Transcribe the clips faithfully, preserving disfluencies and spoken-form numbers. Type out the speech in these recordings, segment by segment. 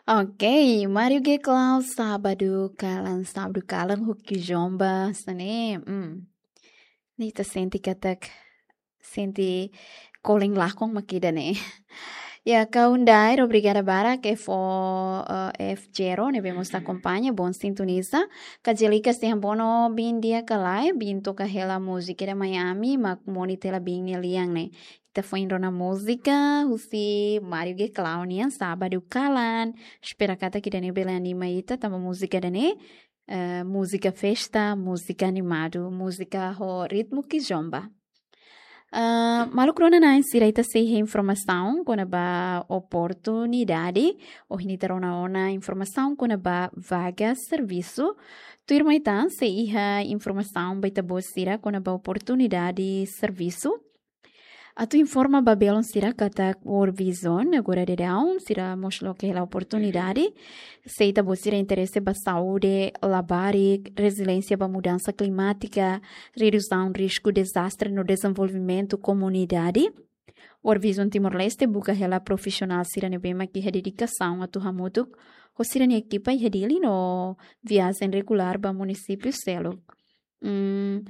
Ok, Mário Geclau, Sábadu Kalan, Sábadu Kalan, Huki Jomba, sane. Hmm. Ne'e ita sente katak, sente kolen lakon mak ida-ne'e. Ya, Kaundai, obrigada barak, F O, eh, F Jero, ne'ebé mós akompaña, bom sintoniza. Kajelika Sihan Bono, bin dia kalai, bin toka hela múzika de Miami, mak moni tela bin nia lian ne'e. Ita foin rona múzika husi Mário Geclau nian, Sábadu Kalan. Espera katak ida-ne'e bele anima ita, tanba múzika ida-ne'e, eh, múzika festa, múzika animadu, múzika ho ritmu kizomba. Ah, maluk rona-na'in sira, ita sei iha informasaun kona-ba oportunidade, ohin ita rona ona informasaun kona-ba vaga servisu. Tuirmai tan sei iha informasaun ba ita-boot sira kona-ba oportunidade servisu. Atu informa ba belun sira katak World Vision, agora daudaun, sira mós loke hela oportunidade. Se ita-boot sira interese ba saúde, labarik, reziliénsia ba mudansa klimátika, redusaun risku dezastre no dezenvolvimentu komunidade. World Vision Timor-Leste buka hela profisionál sira ne'ebé mak iha dedikasaun atu hamutuk ho sira-nia ekipa iha Dili no viajen regulár ba munisípiu seluk. Hmm,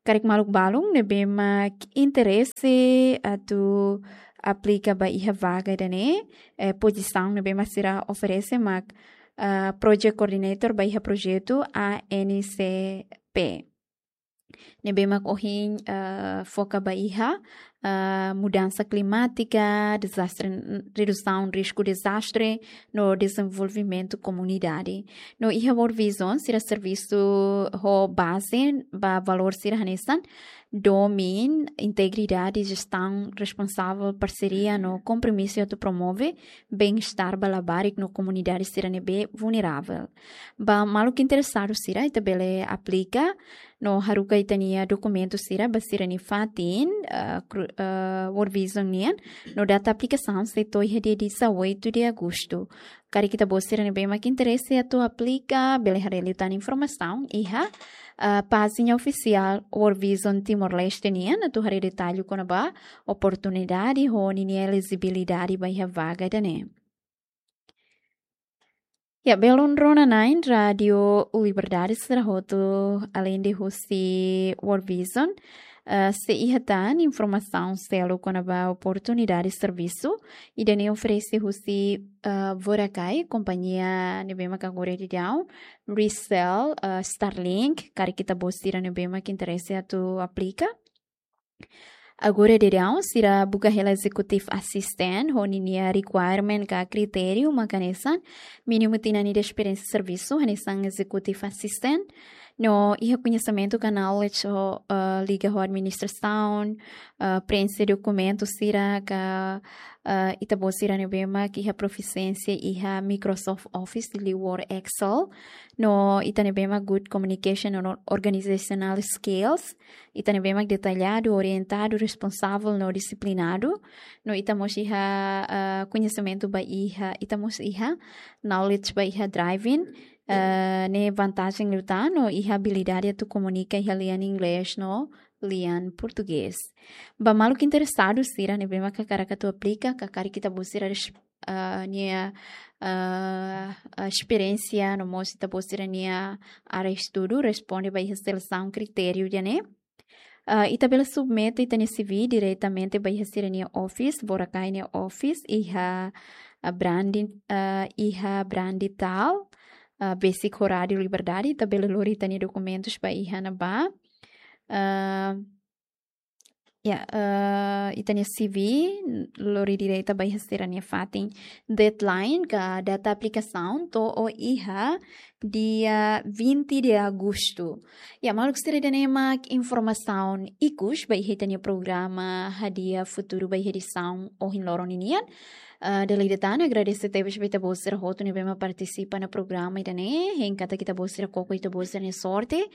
karik maluk balun ne'ebé mak interese atu aplika ba iha vaga ida-ne'e, eh, pozisaun ne'ebé mak sira oferese mak, ah, project coordinator ba iha projetu A N C P. Ne'ebé mak ohin, ah, foka ba iha, ah, mudansa klimátika, dezastre, redusaun risku dezastre, no dezenvolvimentu komunidade. No iha World Vision, sira servisu ho baze ba valór sira hanesan domin, integridade, jestaun responsavel, parseria no kompromisu atu promove bem-estar ba labarik no komunidade sira ne'ebé vulneravel. Ba maluk interesadu sira, ita bele aplika no haruka ita-nia dokumentu sira ba sira-nia fatin, ah, kru-, ah, World Vision nian, no data aplikasaun sei to'o iha dia dezoito de agosto. Karik ita-boot sira ne'ebé mak interese atu aplika, bele haree liután informasaun iha, ah, pájina ofisiál World Vision Timor-Leste nian, atu haree detallu kona-ba oportunidade ho ninia elejibilidade ba iha vaga ida-ne'e. Ya, belun rona-na'in, Rádio Liberdade sira hotu, aleinde husi World Vision, eh, sei iha tan informasaun seluk kona-ba oportunidade servisu. Ida-ne'e oferese husi, eh, Vodacom, kompañia ne'ebé mak agora daudaun, resell, eh, Starlink, karik ita-boot sira ne'ebé mak interese atu aplika. Agora daudaun, sira buka hela executive assistant, ho ninia requirement ka kritériu mak hanesan, mínimu tinan ida esperiénsia servisu, hanesan executive assistant, no iha koñesimentu ka knowledge ho, eh, liga ho administrasaun, eh, preenxe dokumentu sira ka, eh, ita-boot sira ne'ebé mak iha profisiénsia iha Microsoft Office, liuliu Word, Excel, no ita ne'ebé mak good communication no organizational skills, ita ne'ebé mak detalladu, orientadu, responsavel no disiplinadu, no ita mós iha, ah, koñesimentu ba iha, ita mós iha knowledge ba iha driving, ah, ne'e vantajen liután, no iha abilidade atu komunika iha lian inglés no lian portugés. Ba maluk interesadu sira ne'ebé mak hakarak atu aplika, ka karik ita-boot sira res-, ah, nia, ah, ah, esperiénsia no mós ita-boot sira-nia área estudu responde ba iha selesaun kritériu ida-ne'e. Ah, ita bele submete ita-nia C V diretamente ba iha sira-nia office, Vodacom nia office, iha, ah, Brandi, ah, iha Brandi Taal, ah, besik ho Rádio Liberdade, ita bele lori ita-nia dokumentus ba iha ne'ebá. Ah, ya, eh, ita-nia C V lori direta ba iha sira-nia fatin. Deadline ka data aplikasaun to'o iha dia vinte de agosto. Ya, maluk sira, ida-ne'e mak informasaun ikus ba iha ita-nia programa Hadi'a Futuru ba iha edisaun ohin loron ninian. Ah, dala ida tan, agradese tebes ba ita-boot sira hotu ne'ebé mak partisipa iha programa ida-ne'e, hein katak ita-boot sira koko ita-boot sira-nia sorte,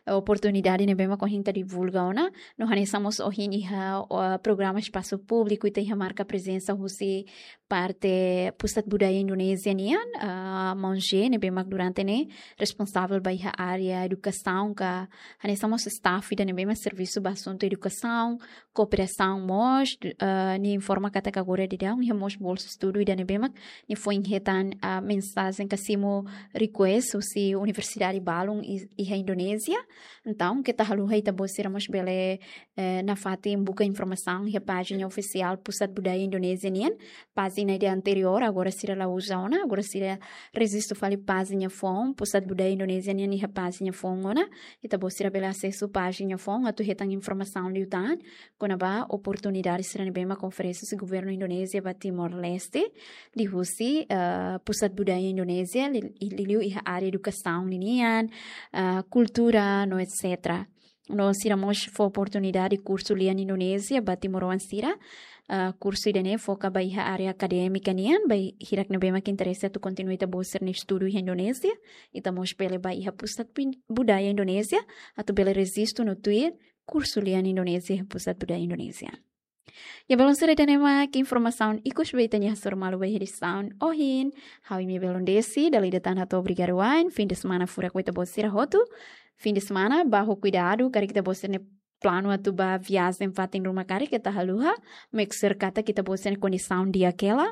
oportunidade ne'ebé mak ohin ita divulga ona, no hanesan mós ohin iha, ah, programa espasu públiku ita iha marka prezensa husi parte Pusat Budaya Indonézia nian, ah, Maun G, ne'ebé mak durante ne'e responsavel ba iha área edukasaun ka hanesan mós staff ida ne'ebé mak servisu ba asuntu edukasaun, kooperasaun mós, eh, nia informa katak agora daudaun iha mós bolu estudu ida ne'ebé mak nia foin hetan, ah, mensajen ka simu request husi universidade balun i-, iha Indonézia. Entaun, keta haluha ita-boot sira mós bele, eh, nafatin buka informasaun iha pájina ofisiál Pusat Budaya Indonézia nian. Pájina ida anteriór, agora sira la uza ona, agora sira rejistu fali pájina foun, Pusat Budaya Indonézia nian iha pájina foun ona. Ita-boot sira bele asesu pájina foun atu hetan informasaun liután kona-ba oportunidade sira ne'ebé mak oferese husi governu Indonézia ba Timor-Leste, liuhusi, eh, Pusat Budaya Indonézia, li-, li-, liuliu iha área edukasaun ninian, eh, kultura, no et cetera. No sira mós fó oportunidade kursu lian Indonézia ba timoroan sira. Eh, kursu ida-ne'e foka ba iha área akadémika nian, ba hirak ne'ebé mak interese atu kontinua ita-boot sira-nia estudu iha Indonézia. Ita mós bele ba iha Pusat Bin-, Budaya Indonézia atu bele rejistu no tuir kursu lian Indonézia iha Pusat Budaya Indonézia. Ya, belun sira, ida-ne'e mak informasaun ikus ba ita-nia hasoru malu ba iha edisaun ohin. Ha'u imi belun Desi, dala ida tan hato'o obrigadu wa'in. Fin de semana furak ba ita-boot sira hotu. Fin de semana, bá ho kuidadu, karik ita-boot sira-nia planu atu bá viajen fatin ruma karik, keta haluha, make sure katak ita-boot sira-nia kondisaun di'ak hela.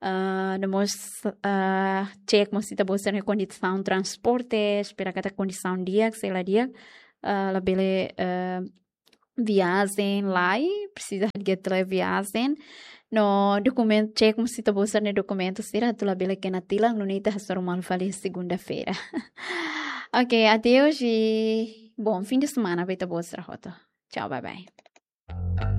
Ah, no mós, ah, cek mós ita-boot sira-nia kondisaun transporte, espera katak kondisaun di'ak, se la di'ak, ah, labele, ah, viajen lai, presiza hadi'a tiha lai viajen. No dokumentu, cek mós ita-boot sira-nia dokumentu sira atu labele kena tilang, nune'e ita hasoru malu fali segunda-feira. Ok, adeus e bom fim de semana ba ita-boot sira hotu. Tchau, bye bye.